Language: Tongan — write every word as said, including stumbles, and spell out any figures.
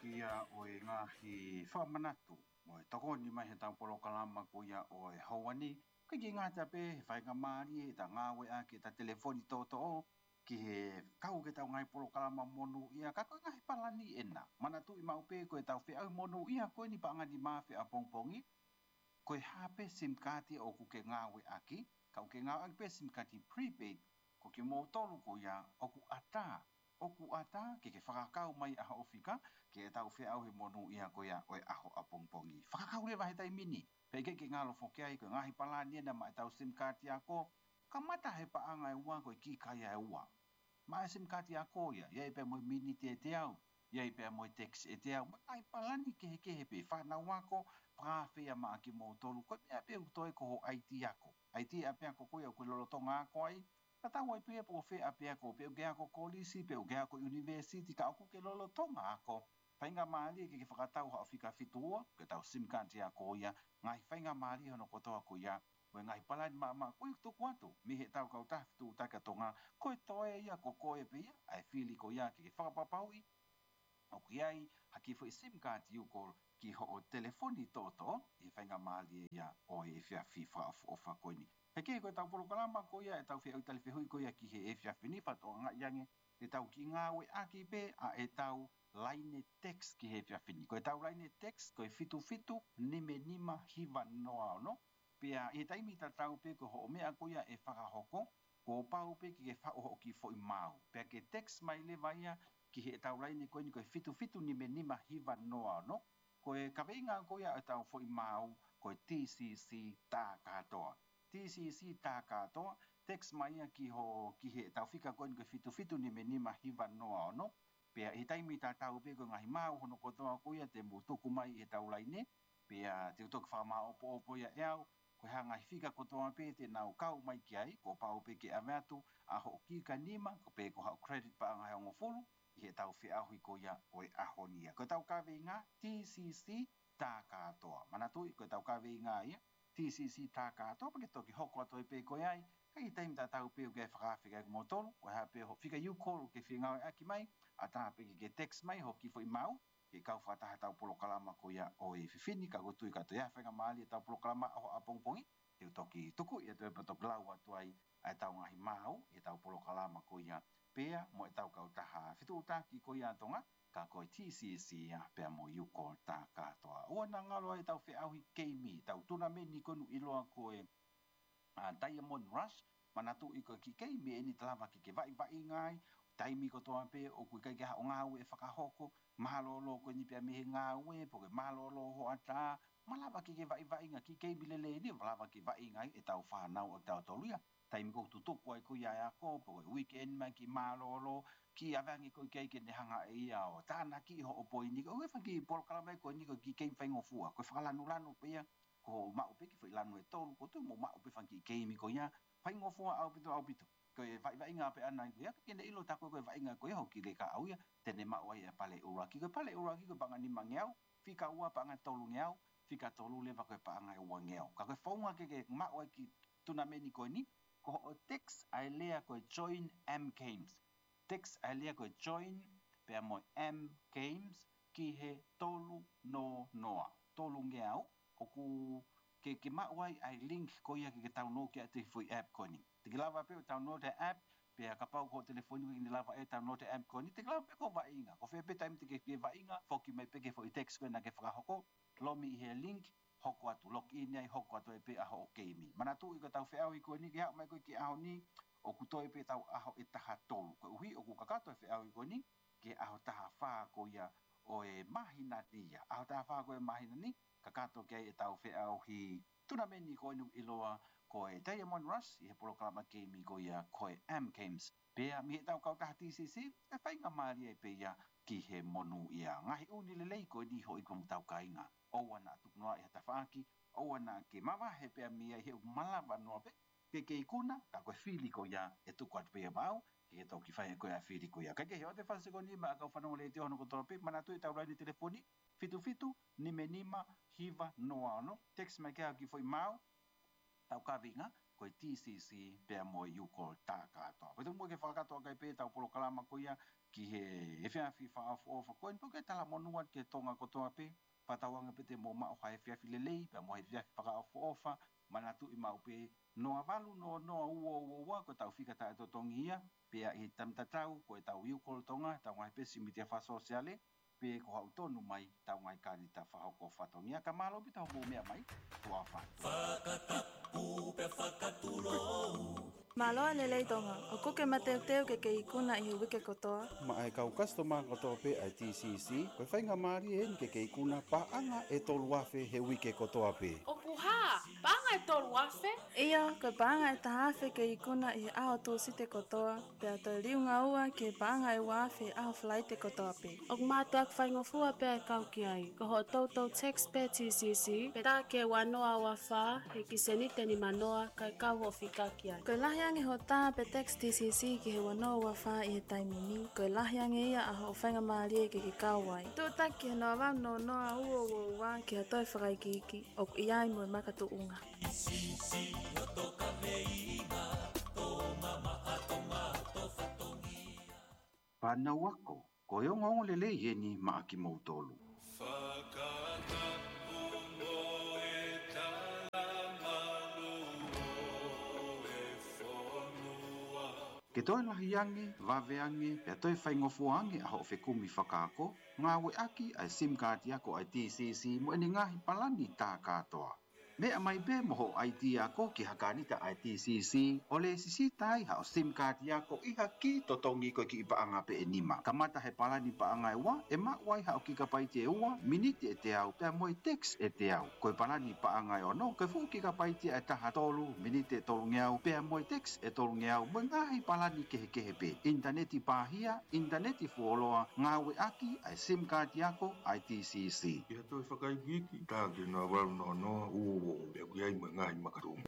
Kia ʻoe ngaahi fakamanatu mo e tokoni mai he tau polokalama ko ia ʻo e houa ni. Kae ʻikai ke ngata pē he faingamālie ʻeta ngāueʻaki ʻeta telefoni tōtōʻo ki he kau ki he tau ngaahi polokalama monūʻia, ka ko e ngaahi palani ena. Manatuʻi maʻu pē ko e tau feʻauhi monūʻia ko eni paʻanga nima afe ʻapongipongi, ko e hā pē SIM card ʻoku ke ngāueʻaki, ka ʻoku ke ngāueʻaki pē SIM card prepaid, ko kimoutolu ko ia ʻoku ʻatā, ʻoku ʻatā ke ke fakakau mai ʻa hoʻo fika ki he tau feʻauhi monūʻia ko ia ʻo e ʻaho ʻapongipongi. Fakakau leva he taimi ni, pea ʻikai ke ngalo foki ai, ko e ngaahi palani ena maʻa e tau SIM card ako, kamata he paʻanga ʻe ua ko e kiʻi kai ʻe ua. Maʻa e SIM card ako ia, ʻi ai pē mo e miniti ʻe teau, ʻi ai pē mo e text ʻe teau, mo e ngaahi palani kehekehe pē, fānau ako, fakaafe ia maʻa kimoutolu, ko e meʻa pē ʻoku toe ko hoʻo ʻaiti ako. ʻAiti ʻapiako ko ia ʻoku ke lolotonga ako ai, tatau ai pē pe ko fē ʻapiako, pe ʻoku ke ako kolisi, pe ʻoku ke ako university, ka ʻoku ke lolotonga ako, faingamālie ke ke fakatau haʻo fika fitu ua, ko e tau SIM card ako ia, ngaahi faingamālie hono kotoa ko ia, mo e ngaahi palani maʻamaʻa ko ia ʻoku tuku atu mei he tau kautaha fetuʻutaki ʻa Tonga, ko e toe ia ko koe pē ia ʻa e fili ko ia ke ke fakapapauʻi ʻoku ʻi ai ha kiʻi foʻi SIM card UCall ki hoʻo telefoni tōtōʻo ʻi he faingamālie ia ʻo e efiafi fakaʻofoʻofa ko eni. He kehe ko e tau polokalama ko ia ʻe tau feʻauhi tali fehuʻi ko ia ki he efiafi ni, fakatokangaʻi ange te tau kiʻi ngāueʻaki pē ʻa e tau laine text ki he efiafi ni. Ko e tau laine text ko e fitu fitu nima nima hiva noa ono. Pea ʻi he taimi tatau pē ko hoʻo meʻa ko ia ʻe fakahoko, kuo pau pē ke ke faʻu hoʻo kiʻi foʻi maau. Pea ke text mai leva ia ki he tau laine ko eni ko e fitu fitu nima nima hiva noa ono. Ko e kaveinga ko ia ʻo e tau foʻi maau ko e TCC tā kātoa. TCC tā kātoa, text mai ia ki ho, ki he tau fika ko eni ko e fitu fitu nima nima hiva noa ono. Pea ʻi he taimi tatau pē ko e ngaahi maau hono kotoa ko ia te mou tuku mai ʻi he tau laine, pea te u toki fakamāʻopoʻopo ia ʻe au, ko e hā ngaahi fika kotoa pē te nau kau mai ki ai, kuo pau pē ke ʻave atu ʻa hoʻo kika nima, ko pē ko haʻo credit paʻanga ʻe hongofulu, ʻi he tau feʻauhi ko ia ʻo e ʻaho ni ia. Ko e tau kaveinga TCC tā kātoa. Manatuʻi, ko e tau kaveinga ia, TCC tā kātoa, pea ke toki hoko atu ai pē koe ai, ka ʻi he taimi tatau pē ʻoku ke fakaafe ki ai kimoutolu, ko e hā pē hoʻo fika UCall ʻoku ke fie ngāueʻaki mai, ʻatā pē ke ke text mai hoʻo kiʻi foʻi maau, ke kau fakataha tau polokalama ko ia ʻo e efiafi ni, ka ʻoku ou tui ka toe ʻi ai ha faingamālie ʻetau polokalama ʻaho ʻapongipongi, te u toki tukuʻi atu ai pea toki lau atu ai ʻa e tau ngaahi maau ʻi he tau polokalama ko ia pea mo e tau kautaha fetuʻutaki ko ia ʻa Tonga, ka ko e TCC ia pea mo UCall tā kātoa. ʻOua naʻa ngalo ai ʻetau feʻauhi keimi, tau tunameni ko eni ʻoku ʻiloa ko e ʻa Diamond Rush, manatuʻi ko e kiʻi keimi eni te lava ke ke vaʻivaʻinga ai, taimi kotoa pē ʻoku ʻikai ke ʻi ai haʻo ngāue ʻe fakahoko, mālōlō ko eni pea mei he ngāue, pe ko e mālōlō hoʻatā, malava ke ke vaʻivaʻinga, kiʻi keimi lelei eni, malava ke vaʻinga ai ʻetau fānau ʻo tautolu ia. Taimi ko ē ʻoku tutuku ai ko ia ʻa e ako, pe ko e weekend mai kiʻi mālōlō, kiʻi ʻave ange ko ē ki ai ke ne hanga ʻe ia ʻo tānaki hoʻo poini, ko e fanga kiʻi polokalama ko eni ko e kiʻi keimi faingofua, ko e fakalanulanu pē ia, ko hoʻo maʻu pē kiʻi foʻi lanu ʻe tolu, ʻoku ou tui mou maʻu pē fanga kiʻi keimi ko ia, faingofua ʻaupito, ʻaupito. Ko e vaʻivaʻinga pē ʻana ia, ke ne ʻilo ʻe taku ko e vaʻinga ko ia hoʻo kiʻi leka ʻau ia, te ne maʻu ai e pale ʻuluaki. Ko e pale ʻuluaki ko e paʻanga nimangeau, fika ua paʻanga tolungeau, fika tolu leva ko e paʻanga ʻe uangeau. Ka ko e founga ke ke maʻu ai e kiʻi tunameni ko eni, ko hoʻo text ʻa e lea ko e join M Games. Text ʻa e lea ko e join pea mo e M Games ki he tolu noa noa, tolungeau, ʻoku ke, ke maʻu ai ʻa e link ko ia ke ke download ki ai ʻa e foʻi app ko eni. Te ke lava pē ʻo download e app, pea kapau ko hoʻo telefoni ʻoku ʻikai ke ne lava ʻo download e app ko eni, te ke lava pē ʻo vaʻinga. Ko fē pē taimi te ke, ke vaʻinga, foki mai pē ki he foʻi text ko ē naʻa ke fakahoko, lomi ʻi he link, hoko atu, log in ai, hoko atu ai pē ʻa hoʻo keimi. Manatuʻi ko e tau feʻauhi ko eni ke aʻu mai ko ē ki he ʻaho ni, ʻoku toe pē tau ʻaho ʻe taha tolu. Koeʻuhi ʻoku kakato e feʻauhi ko eni ki he ʻaho taha fā ko ia ʻo e māhina ni ia. ʻAho taha fā ko ia ʻo e māhina ni, kakato ki ai ʻetau feʻauhi tunameni ko eni ʻoku ʻiloa ko e Diamond Rush ʻi he polokalama keimi ko ia ko e M Games. Pea mei he tau kautaha TCC, ʻe faingamālie pē ia ki he monūʻia. Ngaahi ʻū meʻa lelei ko eni hoʻi ko e mou tau kāinga. ʻOua naʻa tuku noa ʻi ha tafaʻaki, ʻoua naʻa ke mavahe pē mei ai he ʻoku malava noa pē ke ke ikuna, ka ko e fili ko ia ʻe tuku atu pē ia maʻau, ke ke toki fai ko ē ʻa e fili ko ia. Kae kehe, ʻoatu e fasi ko eni maʻa e kau fanongo letiō hono kotoa pē, manatuʻi ʻetau laine telefoni, fitu fitu nima nima hiva noa ono, text mai ki ai hoʻo kiʻi foʻi maau, tau kaveinga, ko e T C C pea mo e U-Call tā kātoa. Ko e tuku muʻa ke fakakakato ʻaki pē ʻetau polokalama ko ia ki he efiafi fakaʻofoʻofa ko eni, pea ke talamonū atu ki he Tonga kotoa pē, fakatauange pē te mou maʻu ha efiafi lelei pea mo ha efiafi fakaʻofoʻofa. Manatuʻi maʻu pē, noa valu noa noa ua ua ua ko ʻetau fika taʻetotongi ia, pea ʻi he taimi tatau ko ʻetau U-Call Tonga, ʻetau ngaahi peesi mītia fakasōsiale, pe ko haʻu tonu mai ʻetau ngaahi kānita fakahoko fatongia. Ka mālō ʻaupito hoʻomou meʻa mai, tuʻa ʻofa atu. Fakatapu pea fakatulou. Mālō e lelei Tonga, ʻoku ke mateuteu ke ke ikuna ʻi he uike kotoa? Maʻa e kau kasitoma kotoa pē ʻa e T C C, ko e faingamālie eni ke ke ikuna paʻanga ʻe tolu afe he uike kotoa pē. ʻOku hā? Paʻanga ʻe tolu afe? ʻIo, ko e paʻanga ʻe taha afe ke ikuna ʻi he ʻaho Tūsite kotoa, pea toe liunga ua ki he paʻanga ʻe ua afe he ʻaho Falaite kotoa pē. ʻOku mātuʻaki faingofua pē ʻa e kau ki ai. Ko hoʻo toutou text pē T C C, pea tā ki he ua noa ua fā, he ki he sēniti ʻe nima noa, kae kau hoʻo fika ki ai. Ko e lahi ange hoʻo tā pe text T C C ki he ua noa ua fā ʻi he taimi ni, ko e lahi ange ia ʻa hoʻo faingamālie ke ke kau ai. Tuʻutaki ki he noa valu noa noa ua ua ua ki ha toe fakaikiiki, ʻoku ʻi ai mo e makatuʻunga. Fānau ako, ko e ongoongo lelei eni maʻa kimoutolu. Fakatapu mo e talamalu ʻo e fonua. Ke toe lahi ange, vave ange, pea toe faingofua ange ʻa hoʻo fekumi fakaako, ngāueʻaki ʻa e SIM kaati ako ʻa e T C C mo ʻene ngaahi palani tā kātoa. Meʻa mai pē mo hoʻo ʻaiti ako ki ha kānita ʻa e T C C, ʻo lēsisita ai haʻo SIM kaati ako ʻi ha kī totongi ko e kiʻi paʻanga pē ʻe nima. Kamata he palani paʻanga ʻe ua, ʻe maʻu ai haʻo kikapaiti ʻe ua, miniti ʻe teau, pea mo e text ʻe teau. Ko e palani paʻanga ʻe ono, ko e fuʻu kikapaiti ʻe taha tolu, miniti ʻe tolungeau, pea mo e text ʻe tolungeau, mo e ngaahi palani kehekehe pē. ʻInitaneti pāhia, ʻinitaneti fuoloa, ngāueʻaki ʻa e SIM kaati ako ʻa e T C C. ʻI ha toe fakaikiiki, tā ki he noa valu noa noa ua ua ua, pea ʻoku ʻi ai mo e ngaahi makatuʻunga.